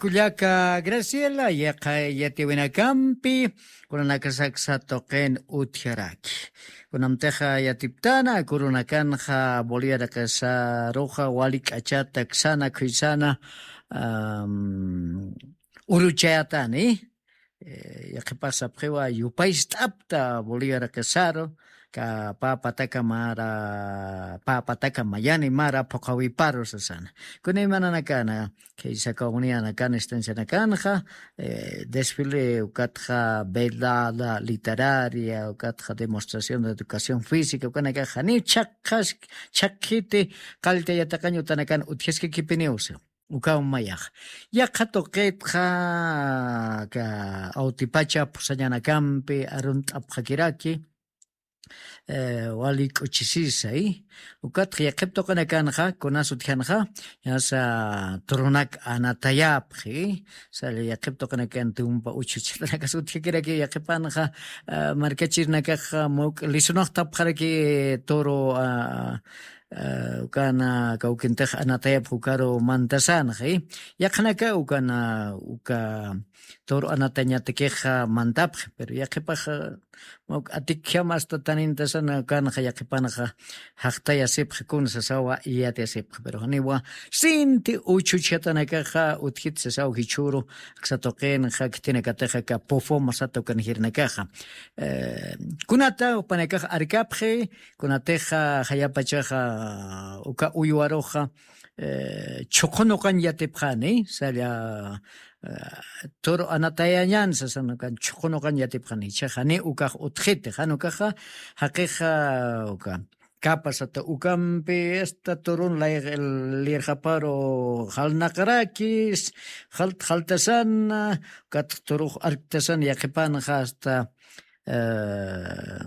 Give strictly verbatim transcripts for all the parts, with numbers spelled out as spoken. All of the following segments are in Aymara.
Kullaka Graciela, yaqha yatiwinakampi kunanakasaksa tuqin utjaraki. Kunamtixa yatiptana kurunakanxa Bolivia raqasaruxa wali k'achata ksana khuysana, am, uruchayatani. Eh, yaqhipax sapxiwa yupayst'apta Bolivia raqasaru, ka pä pataka mara, pä pataka mayani mara phuqhawiparu sasana. Kuna imananakana, khaysa comunidadnakan estancianakanxa, eh, desfile ukatxa velada literaria, ukatxa demostración de educación física, ukanakax janiw chhaqhas-, chhaqhiti qallta yatiqañ utanakan utjaskakipiniw siw. Ukaw mayax. Yaqha tuqitxa ka awtipacha phusañanakampi arunt'apxakiraki, eh, wali k'uchisisay. Ukatxa yaqhip tuqinakanxa, kunas utjanxa, ñasa turunak anatayapxi, sali yaqhip tuqinakan tumpa uchuchitanakas utjakiraki yaqhipanxa, ah, markachirnakaxa muk lisunaxtapxaraki turu, ah, ah, ukana kawkintix anatayapxi ukaru mantasanxa, eh. Yaqhanaka ukana, uka turu anatañatakixa mantapxi, pero yaqhipaxa, muk atikjam asta tanintasana ukanxa yaqhipanxa jaqtayasipxi kun sasawa iyatiyasipxi, pero janiwa sinti uchuchatanakaxa utjit sasaw jichhuru, aksa tuqinxa khitinakatixa ka pufuma sata ukan jirinakaxa. Eh, kunata jupanakax arkapxi, kunatixa jayapachaxa uka uywaruxa, eh, chhuqhunuqañ yatipxani, salla, eh, turu anatayañan sasan ukan chhuqhunuqañ yatipxani, jichhax jani ukax utjiti, jan ukaxa jaqixa uka kapa sata ukampi, asta turun lay-, lirxaparu jalnaqarakis, jalt-, jaltasana, ukat turux arktasana yaqhipanxa asta, eh,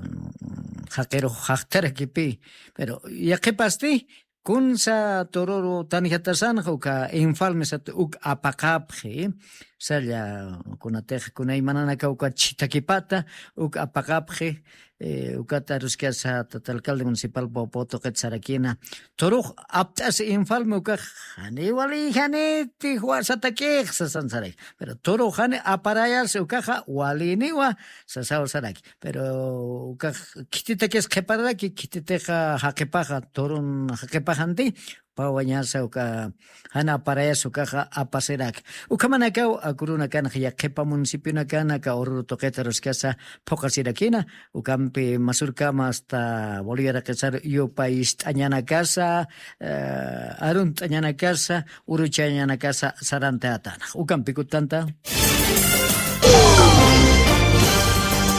jaqirux jaqtarakipi. Pero yaqhipasti, kunsa tururu tanjatasanxa uka informe sata uk apaqapxi, salla kunatix kunaymananaka ukat chhitakipata uk apaqapxi, eh, ukat aruskasa tata alcalde municipal Popo tuqit sarakina. Turux apt'as informe ukax, jani wali janiti juwasatakix sasan saraki. Pero turux jani aparayas ukaxa waliniwa sasaw saraki. Pero ukax khititakis qhipararaki, khititixa jaqipaxa, turun jaqipaxanti, pawañasa uka jana aparayas ukaxa apasiraki. Ukhamanakaw akurunakanxa yaqhipa municipionakanaka ururu tuqita ruskasa phuqasirakina, ukampi masurkama asta Bolivia raqisar yupayist'añanakasa, eh, arunt'añanakasa, uruchañanakasa sarantayatana. Ukampi kutanta.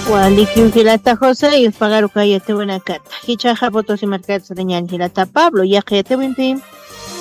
Walikiw jilata José, y pagaru kayatiwanakata. Jichhaxa votos y markata sarañan jilata Pablo, yaqha yatiwimpi.